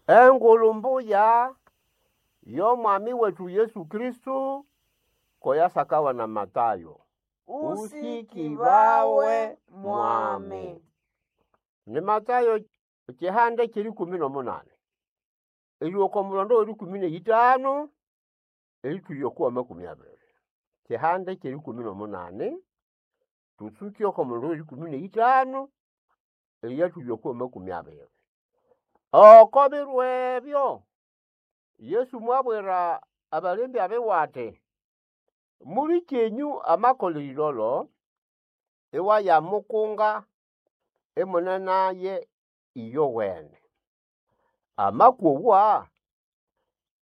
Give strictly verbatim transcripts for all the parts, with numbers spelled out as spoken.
Engulu mbuya y'omwami wetu Yesu Kristo ko yasakawa na Matayo. Usikibawe mwami. Ni Matayo ekihande ky'erikumi n'omunani erihika oko mulondo w'erikumi n'eyitanu eritwihya oko w'amakumi abiri. Kihande ky'erikumi n'omunani tutsuke oko mulondo w'erikumi n'eyitanu eriyatwihya oko w'amakumi abiri. Oko biro ebyo Yesu mwabwira abalembya biwe ati, mulikyenyu amakolha erilolo, iwayamukunga imune naye iyowene. Amakowa,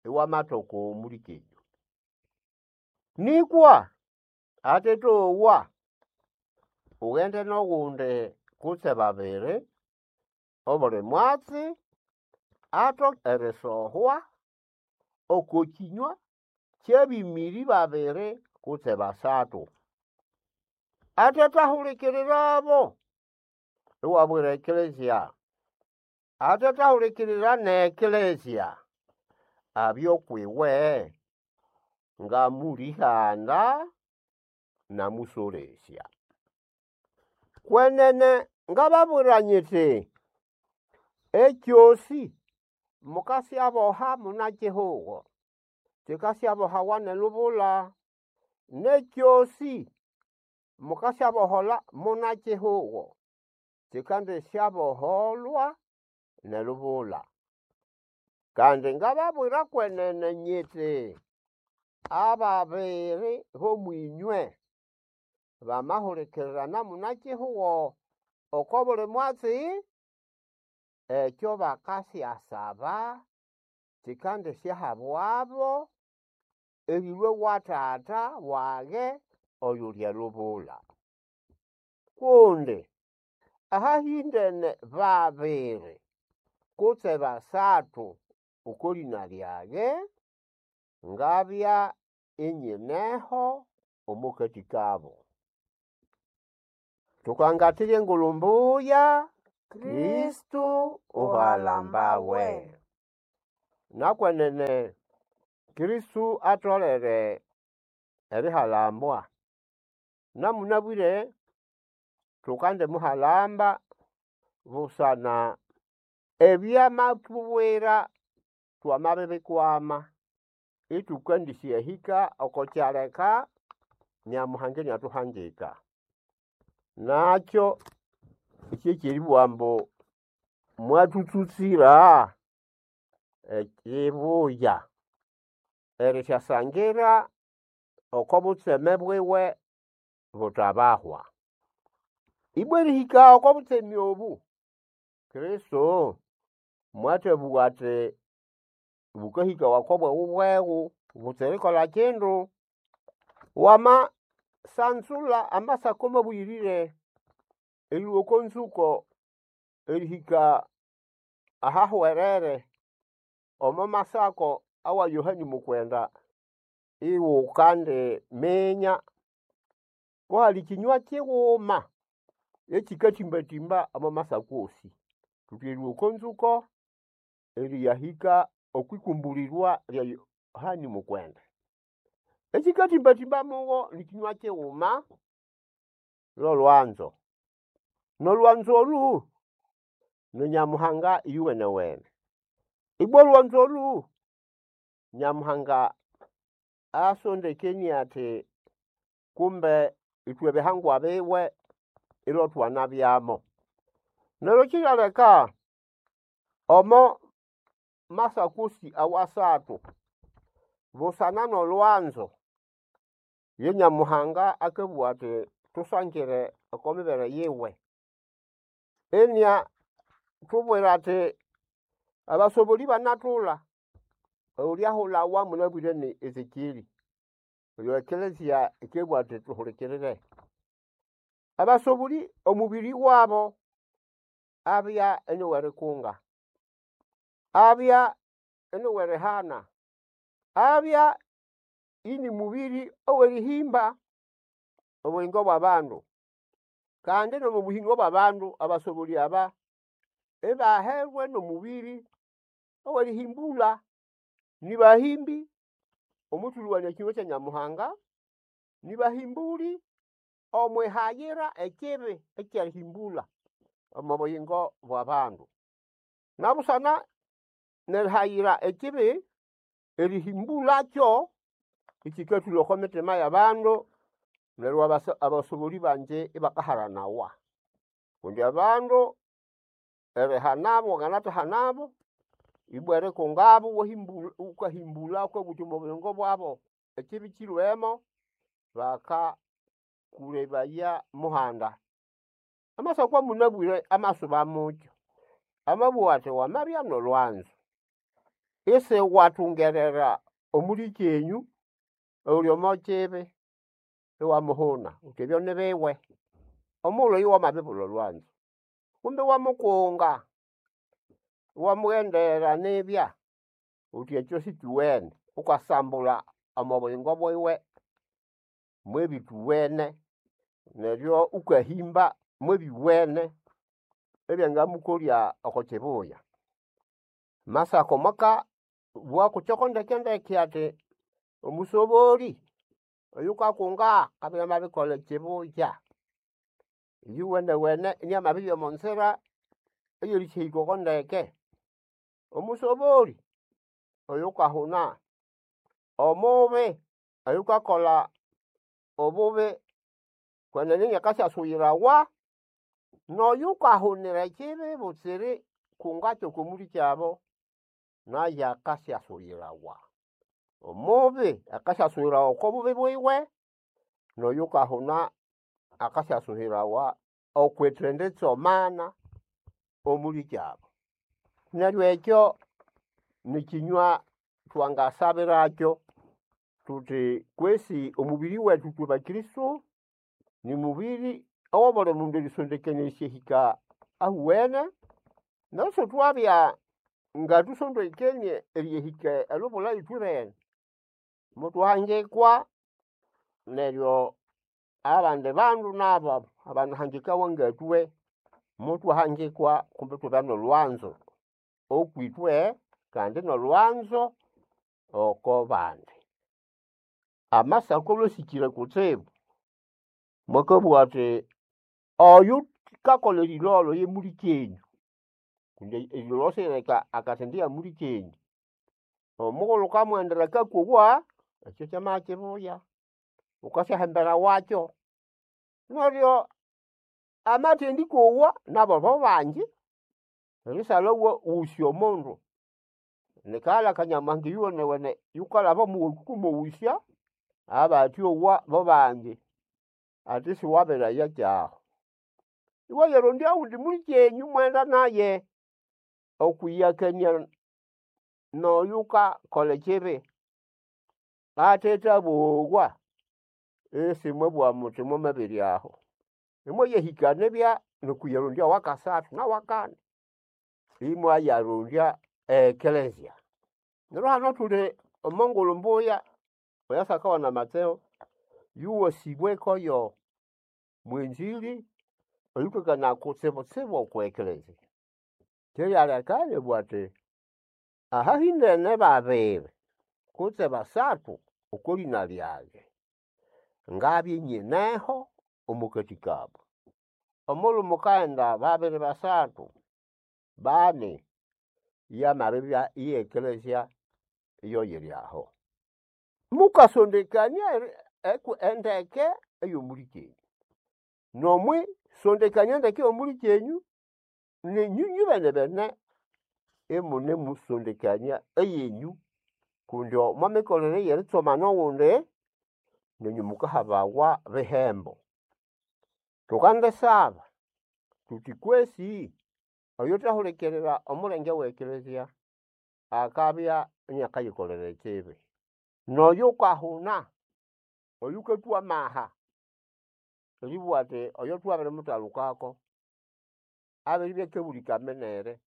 iwamathoka omulikyenyu. Nĩkwa atetogwa, ughende n'ogundi kutse babiri, obuli mwatsi atoke erisohwa oko kĩnywa ky'abĩmĩrĩ babiri kutse basathu. Atethahulikirirabo, iwabwira ekelezia, atethahulikirira n'ekelezia, abye ukwiwe ngamũlĩhanda n'amũsolesya. Kwenene ngababwira nyiti, ekyosi mukasyaboha munakihugo, kikasyabohawa n'elubula, n'ekyosi mukasyaboholha munakihugo, kikandisyaboholwa n'elubula. Kandi ngababwira kwenene nyiti, ababiri b'omwinywe bamahulikirirana munakihugo oko buli mwatsi, ekyo bakasyasaba kikandisyahabwabo erilhwa ewa Tata wage oyuli elubula. Kundi ahahĩndene babiri kutse basathu oko lĩna lyage, ngabya inyineho omo kati kabo. Thukangathira engulhu mbuya, Kristo uhalambawe. Nakwenene Kristo atholere erihalambwa. Namunabwire thukandimuhalamba busana ebyamathubwira twamabibikwama ithukandisyahika oko kyaleka Nyamuhanga iniathuhangika. Nakyo kyekyeribugha ambu mwathutsutsira ekibuya erisyasangira oko butseme bwiwe buthabahwa. Ibwa erihika oko butseme obu, Kristo mwathabugha athi bukahikawa oko bweghubweghu butsira erikolha kindu. Wamasanzulha amasako mabuyirire erilhwa oko nzuko erihika ahahwerere omo masako awa Yohani Mukwenda, iwukandiminya kuhali kinywa kighuma ekikatimbatimba omo masako osi. Thuthi erilhwa oko nzuko eriyahika okwikumburirwa lya Yohani Mukwenda. Ekikatimbatimba mugo nikinywa kighuma lolwanzo. Nolwanzo olhu ni Nyamuhanga iyuwenewene. Ibwa olwanzo olhu Nyamuhanga asondekenie athi kumbe ithwe bihangwa biwe ilotwanabyamo. Neryo kiryaleka omo masako osi awasathu busana n'olwanzo ye Nyamuhanga akabugha athi thusangire oko mibere yiwe. Iniathubwira athi abasoboli banathulha, oyulyahulhawa munabwire ni Ezekyeri, oyo ekelezia yikabugha athi thuhulikirire. Abasoboli omubiri wabo abya iniwerikunga, abya iniwerihana, abya ini mubiri ow'erihimba obuyingo bw'abandu. Kandi n'omo buhingo bw'abandu abasoboli aba ibaherwe n'omubiri Owerihimbulha nibahimbi omwithulhuwania ekinywa kya Nyamuhanga, nibahimbuli omwihayira ekibi ekyerihimbulha omo buyingo bw'abandu. Nabusana nerihayira ekibi, erihimbulhakyo ikyikathulha oko mitima y'abandu neryo abasa abasobolĩ bangi ibakaharanawa. Kundi abandu erihanabo wanganathahanabo, ibwa erikungabo iwahimbu wukahimbulha wukabugha wuthi omo buyingo bwabo ekibi kyilhwemo, bakakulebaya muhanda. Amasako awamunabwire amasuba mukyo, amabugha athi wamabya n'olwanzo, isiwathungerera omulikyenyu oyuli omo kibi iwamuhuna wuthi ebyo nibiwe, omughulhu oyo wamabibulha olwanzo. Kumbe iwamukunga, iwamughendera nibya wuthi ekyo sikyuwene, wukasambulha omo buyingo bwiwe mwebithuwene neryo wukahimba mwebyuwene ebyangamukolya oko kibuya. Amasako mwakabugha kukyoko ndeke ndeke athi omusobolĩ oyukakunga akabya inamabirikolha ekibuya, iyuwenewene iniamabibya omo nzira eyerisyahika oko ndeke. Omusobolĩ oyukahuna, omubi oyukakolha obubi kwenene iniakasyasuyirawa, n'oyukahunira ekibi butsira erikungakyo oko mulikyabu, nayo akasyasuyirawa. Omubi akasyasuyirawa oko bubi bwiwe, n'oyukahuna akasyasuyirawa okwithenditsomana omulikyabu. Neryo ekyo nikyinywa thwangasabirakyo thuthi kwesi omubiri wethu ithwe bakristo, nimubiri owabuli mundu erisondekania erisyahika ahuwene, neryo isithwabya ngathusondekenie eriyahika elubula ithwebene, muthwahangikwa neryo abandi bandu nabo abanahangikawa ngathwe, muthwahangikwa kumbi ithwabya n'olwanzo okwithwe kandi n'olwanzo oko bandi. Amasako alhwe asikire kutsibu, mwakabugha athi oyukakolha erilholho ye mulikyenyu kundi erilholho sirileka akathendiya mulikyenyu, omughulhu wukamughendera akakowa, ekyo kyamabya kibuya, wukasyahambirawakyo. Neryo amathendikowa nabo bobangi, erisalha iwaghusya omundu, nikaghalha aka Nyamuhanga iyuwenewene yukalhaba omuwaku wukamughusya, abathyowa bobangi, athi isiwabiraya kyaho. Iwayarondya owundi mulikyenyu imwaghenda naye okwiyakania n'oyukakolha ekibi athethabowa, isimwabugha muthi mwamabiryaho. Imwayahika nibya n'okwiyarondya owakasathu nawakani, imwayarondya e eklezia. Neryo hano thuli omo ngulhu mbuya eyasakawana Matseo, yowasĩbweko yo mwenzĩrĩ oyukakanaya kutsibutsibu okwa eklezia. Kyeryaleka inabugha athi ahahĩndene babiri kutse basathu oko lĩna lyage, ngabya inyineho omo kati kabu. Omughulhu mukaghenda babiri basathu, bani, yamabibya ye eklezia iyo yiri aho. Mukasondekania eri endeke ey'omulikyenyu, n'omwisondekania endeke ey'omulikyenyu, nenyũ nyubenebene imunemusondekania eyenyũ kundi omo mikolere ey'eritsomana oghundi, nenyũ mukahabawa bihembo. Tukandisaba thuthi kwesi oyuthehulikirira omulenge we eklezia akabya iniakayikolera ekibi, n'oyukahuna, oyukathwa amaha eribugha athi oyo thwabirimuthalukako, abiribya akabũlĩka minere,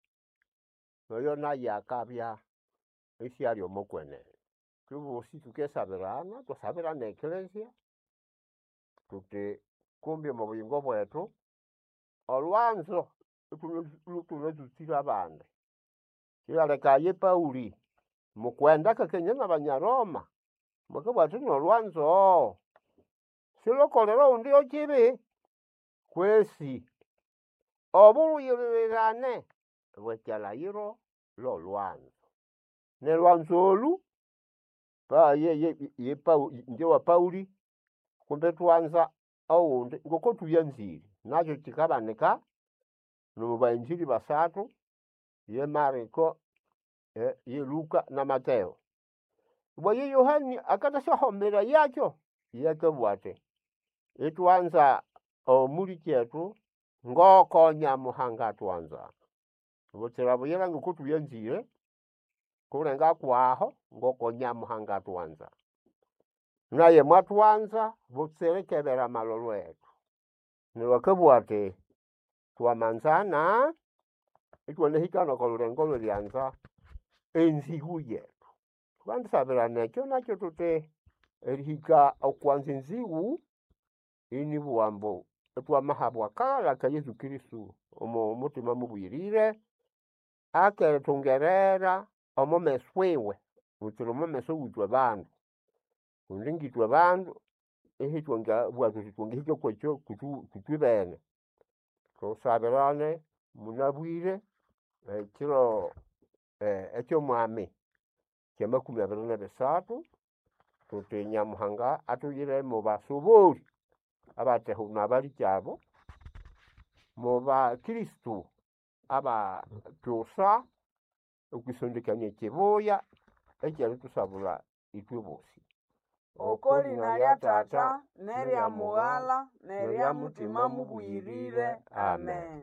noyo naye akabya isiali omo kwenene. Ithwebosi thukisabirana, ithwasabira n'eklezia, thuthi kumbi omo buyingo bwethu, olwanzo ithune lhuthunatsutsire abandi. Kyaleka ye Pauli mukwenda akakania n'Abanyaroma mwakabugha athi n'olwanzo silukolera oghundi yo kibi kwesi obulhuyirirane bw'ekyalhayiro lw'olwanzo. N'elwanzo olhu pa ye ye ye Pauli ingye wa Pauli kumbe ithwanza oghundi ngoko thuyanzire nakyo kyikabanika n'omo bainjili basathu ye Mariko, ye Luka na Mateo. Ibwa ye Yohani akathasyahomera yakyo, iye akabugha athi ithwanza omulikyethu ngoko Nyamuhanga athwanza. Butsira buyira ngoko thuyanzire kulenga kwaho ngoko Nyamuhanga athwanza. Naye mwathwanza butsira ikebera amalholo ethu. Neryo akabugha athi twamanzana ithwanahika n'oko lhulengo lw'erianza enzĩgũ yetu. Thukandisabirana ekyo nakyo thuthi erihika okwanza enzĩgũ inibugha ambu ithwamahabwa akaghalha aka Yesu Kristo omo muthima mubuyirire akerithungerera omo meso iwe butsira omo meso w'ithwe bandu kundi ngithwe bandu ithwangabugha thuthi twangahika kwekyo kwithu kwithwibene. Thusabirane munabwire ekiro eky'omwami ky'amakumi abiri n'ebisathu thuthi Nyamuhanga athuyire mo basobori abathehuna abalikyabo, mu bakristo abakyusa okwisondekania ekibuya ekyerithusabulha ithwe bosi. Oko lina lya Tata n'erya Mughala n'erya Mutima Mubuyirire. Amen.